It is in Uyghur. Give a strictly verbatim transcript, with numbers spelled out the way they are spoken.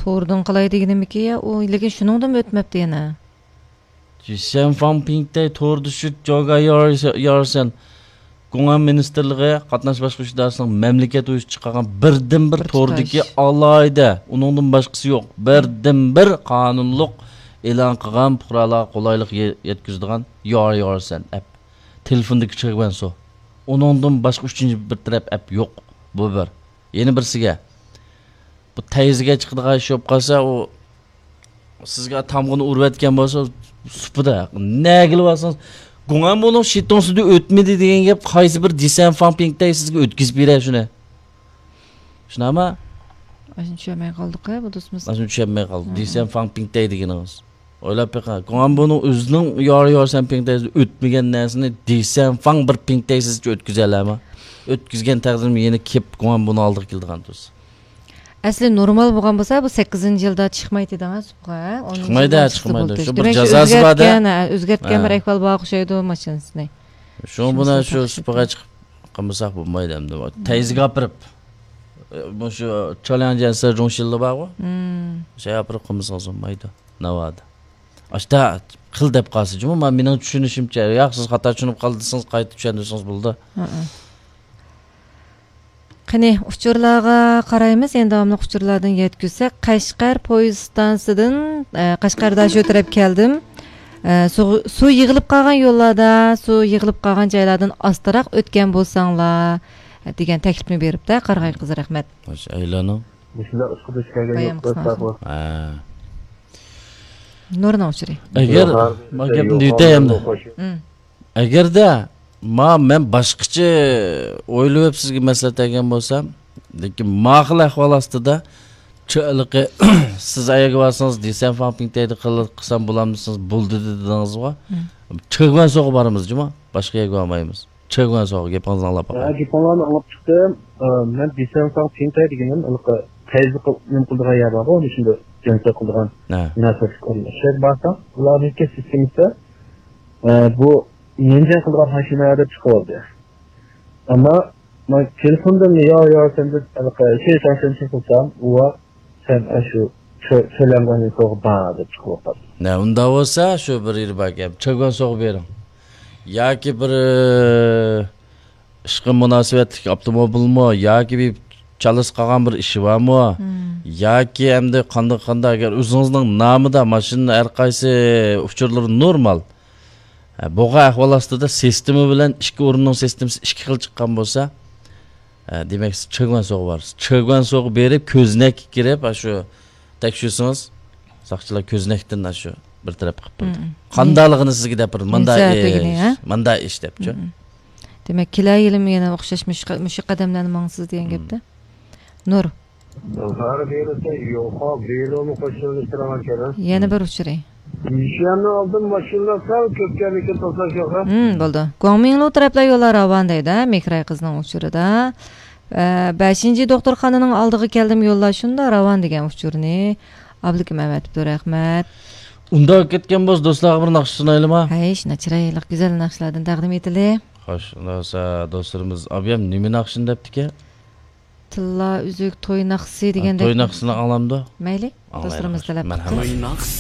توردىن قىلاي دېگىنىمىكى، يا، ئۇ لېكىن شۇنىڭدىنمۇ ئۆتمەپتۇ يەنە. جىسەنفاڭ پىڭتەي توردا شۇ جوگا يارسەن، گۇڭئەن مىنىستىرلىقى قاتناش باشقۇرۇش ئىدارىسىنىڭ مەملىكەت ئۇيۇشى چىقارغان بىردىنبىر بىر توردىكى تۇتاش ئالاھىدە، ئۇنىڭدىن باشقىسى يوق، بىردىنبىر قانۇنلۇق ئېلان قىلغان پۇقرالارغا قولايلىق يە-، يەتكۈزىدىغان يار يارسەن ئەپ. تېلېفوندىكى چىغۋەنسو. ئۇنىڭدىن باشقا ئۈچىنچى بىر تەرەپ ئەپ يوق. بۇ بىر. يەنە بىرسىگە، بۇ تەيزىگە چىقىدىغان ئىش بولۇپ قالسا، ئۇ سىزگە تامغىنى ئۇرۇۋەتكەن بولسا، سۇپىدا نەگىلى بارسىڭىز، گۇڭئەنبۇنىڭ شىتوڭسىدە ئۆتمىدى دېگەن گەپ قايسى بىر جىسەنفاڭ پىڭتەي سىزگە ئۆتكۈزۈپ بېرەي شۇنى. شۇنداقمۇ؟ ئاشۇنى چۈشەنمەي قالدۇق-ھە، بۇ دوستىمىز. ئاشۇنى چۈشەنمەي قالدى. مم. جىسەنفاڭ پىڭتەي دېگىنىڭىز. ئويلاپ بېقىڭ، گۇڭئەنبۇنىڭ ئۆزىنىڭ يار يارسەن پىڭتەيسىدە ئۆتمىگەن نەرسىنى جىسەنفاڭ بىر پىڭتەيسىزچە ئۆتكۈزەلەيمۇ؟ ئۆتكۈزگەن تەقدىردىمۇ يەنە كېلىپ گۇڭئەنبۇنىڭ ئالدىغا كېلىدىغان تۇرسا. ئەسلى نورمال بولغان بولسا، بۇ سەككىزىنچى يىلدا چىقمايتتى دەڭە سۇپىغا. ئونىنچى يىلدا چىقمايدۇ، شۇ بىر دېمەك، جازاسى بار-دە. ئۆزگەرتكەن، ئۆزگەرتكەن ھە. بىر ئەھۋال بار ئوخشايدۇ ماشىنىسىنى. شۇڭا بۇنى شۇ سۇپىغا چىقىپ قىلمىساق بولمايدۇ ئەمدى. تەيزىگە ئاپىرىپ، مۇشۇ چالياڭجيەنسى جۇڭشىنلى بارغۇ؟ مم. شۇ ئاپىرىپ قىلمىسىڭىز بولمايدۇ. ناۋادا. ئاشتا قىل دەپ قالسا جۇمۇ، ما مېنىڭ چۈشىنىشىمچە، ياق، سىز خاتا چۈشىنىپ قالدى دېسىڭىز، قايتا چۈشەندۈرسىڭىز بولىدۇ. ھە. قېنى، ئۇچۇرلارغا قارايمىز. يەنە داۋاملىق ئۇچۇرلاردىن يەتكۈزسەك، قەشقەر پويىز ئىستانسىدىن، ئە، قەشقەردە شۇ تەرەپ كەلدىم. ئە، سۇ، سۇ يىغىلىپ قالغان يوللاردا، سۇ يىغىلىپ قالغان جايلاردىن ئاستىراق ئۆتكەن بولساڭلار، دېگەن تەكلىپنى بېرىپتە. قارىغاي قىز، رەھمەت. ماشۇ ئەيلانىڭ. مۇشۇنداق ئىش قىلىش كەلگەن بايام يوق، قىسمەن. ھە. نۇرنىڭ ئۇچۇرى. ئەگەر، يوق، ما گەپنى يوق، دېيتەي ئەمدى. يوق، خوش. ئەگەردە ما مەن باشقىچە ئويلىۋېپ سىزگە مەسلىھەت بەرگەن بولسام، لېكىن ما خىل ئەھۋال ئاستىدا، چۆ-، ھېلىقى، سىز ئەگەر بارسىڭىز، دېسەن فاڭ پىڭتەيدە قىل-، قىلسام بولامدىسىز، بولدى دېدىڭىزغۇ. چېگۋەنسوغا بارىمىز جۇما، باشقا يەرگە بارمايمىز. چېگۋەنسوغا گېپىڭىزنى ئاڭلاپ باقاي. ھە، گېپىڭلارنى ئاڭلاپ چىقتىم. ئە، مەن دېسەن فاڭ پىڭتەي دېگىنىم ھېلىقى تەيزى قىل-، نېمە قىلىدىغان يەر بارغۇ، ئۇنى شۇنداق جەڭسە قىلىدىغان ھە. مۇناسىۋەتلىك ئورۇن. شۇ يەرگە بارساڭ، ئۇلارنىڭكى سىستېمىسى، ئە، بۇ يەنجەڭ قىلىدىغان ماشىنا دەپ چىقىۋالدى. ئەمما مەن تېلېفوندىن يا، يا، سەن دەپ ھېلىقى شەيتان سەن چىقىلسام، ئۇ سەن ئاشۇ تۆ-، تۆلەنگەن سوغا بار دەپ چىقىۋاتقان. نە، ئۇنداق بولسا، شۇ بىر يېرى باركەن، چۆگۈن سوغا بېرىڭ. ياكى بىر، ئىشقا مۇناسىۋەتلىك ئاپتوموبىلمۇ، ياكى بىر چالىسى قالغان بىر ئىشى بارمۇ؟ مم. ياكى ئەمدى قانداق، قانداق، ئەگەر ئۆزىڭىزنىڭ نامىدا ماشىنا ھەر قايسى ئۇچۇرلىرى نورمال. ھە، بولغان ئەھۋال ئاستىدا سىستېما بىلەن ئىككى ئورۇننىڭ سىستېمىسى ئىككى خىل چىققان بولسا، ھە، دېمەك، سىز چېگۋەنسوغا بارسىز. چېگۋەنسوغا بېرىپ، كۆزنەككە كىرىپ، ئاشۇ تەكشۈرسىڭىز، ساقچىلار كۆزنەكتىن ئاشۇ بىر تەرەپ قىلىپ بېرىدۇ. مم. قانداقلىقىنى سىزگە دەپ بېرىدۇ. مۇنداق ئىش، ھە؟ مۇنداق ئىش دەپچۇ. مم. دېمەك، كېلەر يىلىمۇ يەنە ئوخشاش مۇشۇ، مۇشۇ قەدەملەرنى ماڭىسىز دېگەن مم. گەپتە. نۇر. زارى بېرىسە يوقا، بېرىمۇ قوشۇلۇشتۇرغان كەدە. يەنە بىر ئۇچۇرى. مىشيەننى ئالدىم، ماشىنىلار سەل كۆپكەنلىكىن توساش يوق. ھىم، بولدى. گۇاڭمىڭلۇ تەرەپلەر يوللار راۋان دەيدۇ، مېھراي قىزنىڭ ئۇچۇرىدا. ئە، بەشىنچى دوختۇرخانىنىڭ ئالدىغا كەلدىم، يوللار شۇنداق راۋان دېگەن ئۇچۇرنى ئابلىكىم ئەۋەتىپتۇ، رەھمەت. ئۇنداق كەتكەن بولسا، دوستلارغا بىر ناخشا سۇنايلىما؟ ھەي، شۇنداق چىرايلىق، گۈزەل ناخشىلاردىن تەقدىم ئېتىلى. خوش، ئۇنداق بولسا، دوستلىرىمىز، ئابىيام نېمە ناخشىنى دەپتىكەن؟ تىللا ئۈزۈك توي ناخشىسى دېگەندەك. توي ناخشىسىنى ئاڭلامدۇ؟ مەيلى، ئاڭلايلى، دوستلىرىمىز خوش. تەلەپ قىپتۇ. مەرھەمەت. توي ناخشىسى.